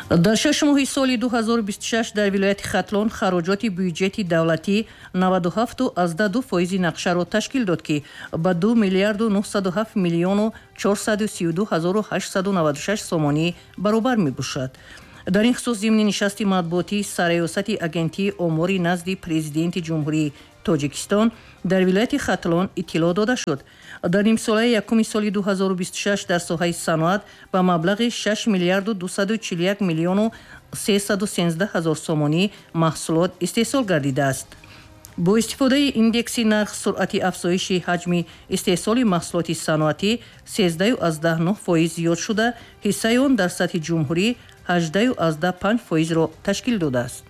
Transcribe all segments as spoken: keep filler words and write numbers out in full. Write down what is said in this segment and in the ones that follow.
Дар шаш моҳи соли ду ҳазору бисту шаш дар вилояти Хатлон хароҷоти бюҷети давлатӣ наваду ҳафту аздаҳ ду фоизи нақшаро ташкил дод, ки ба ду миллиарду нуҳсаду ҳафт миллиону чорсаду сию ду ҳазору ҳаштсаду наваду шаш сомонӣ баробар мебошад. Дар ин хусус зимни нишасти матбуотии сарраёсати агентии омори назди президенти Ҷумҳурии Тоҷикистон дар вилояти Хатлон иттилоъ дода шуд. Дар нимсолаи якуми соли ду ҳазору бисту шаш дар соҳаи саноат ба маблағи шаш миллиарду дусаду чилу як миллиону сесаду сенздаҳ ҳазор сомонӣ маҳсулот истеҳсол гардидааст. Бо истифодаи индекси нарх суръати афзоиши ҳаҷми истеҳсоли маҳсулоти саноатӣ сездаҳу аздаҳ нӯҳ фоиз зиёд шуда, ҳиссаи он дар сатҳи ҷумҳурӣ ҳаждаҳу аздаҳ панҷ фоизро ташкил додааст.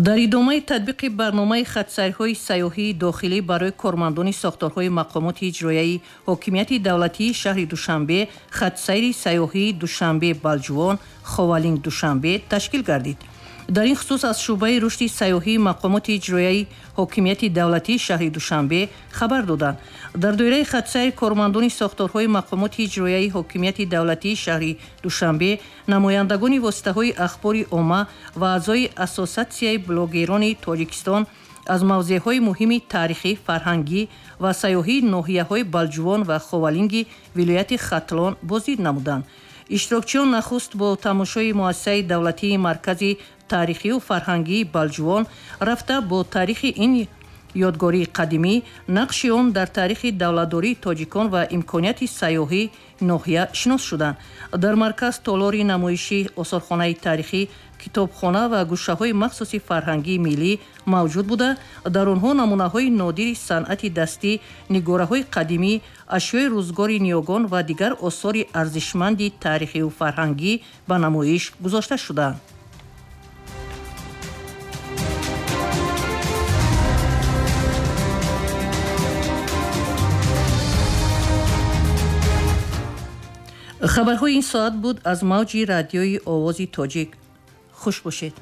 Дар идомаи татбиқи барномаи хатсайрҳои сайёҳии дохилӣ барои кормандони сохторҳои мақомоти иҷроияи ҳокимияти давлатии шаҳри Душанбе хатсайри сайёҳии Душанбе Балҷувон Ховалинг Душанбе ташкил гардид. Дар ин хусус аз шӯъбаи рушди сайёҳии мақомоти иҷроияи ҳокимияти давлатии шаҳри Душанбе хабар доданд. Дар доираи хатсайр кормандони сохторҳои мақомоти иҷроияи ҳокимияти давлатии шаҳри Душанбе, намояндагони воситаҳои ахбори омма ва аъзои Ассотсиатсияи блогерони Тоҷикистон аз мавзеъҳои муҳими таърихӣ, фарҳангӣ ва сайёҳии ноҳияҳои Балҷувон ва Ховалинги вилояти Хатлон боздид намуданд. Иштирокчиён нахуст бо тамошои муассисаи давлатии маркази таърихию фарҳангии Балҷувон рафта, бо таърихи ин ёдгории қадимӣ, нақши он дар таърихи давлатдории тоҷикон ва имконияти сайёҳии ноҳия шинос шуданд. Дар марказ толори намоишӣ, осорхонаи таърихӣ, китобхона ва гӯшаҳои махсуси фарҳангии миллӣ мавҷуд буда, дар онҳо намунаҳои нодири санъати дастӣ, нигораҳои қадимӣ, ашёи рӯзгори ниёгон ва дигар осори арзишманди таърихию фарҳангӣ ба намоиш гузошта шудаанд. Хабарҳои ин соат буд аз мавҷи радиои Овози Тоҷик. Хуш бошед.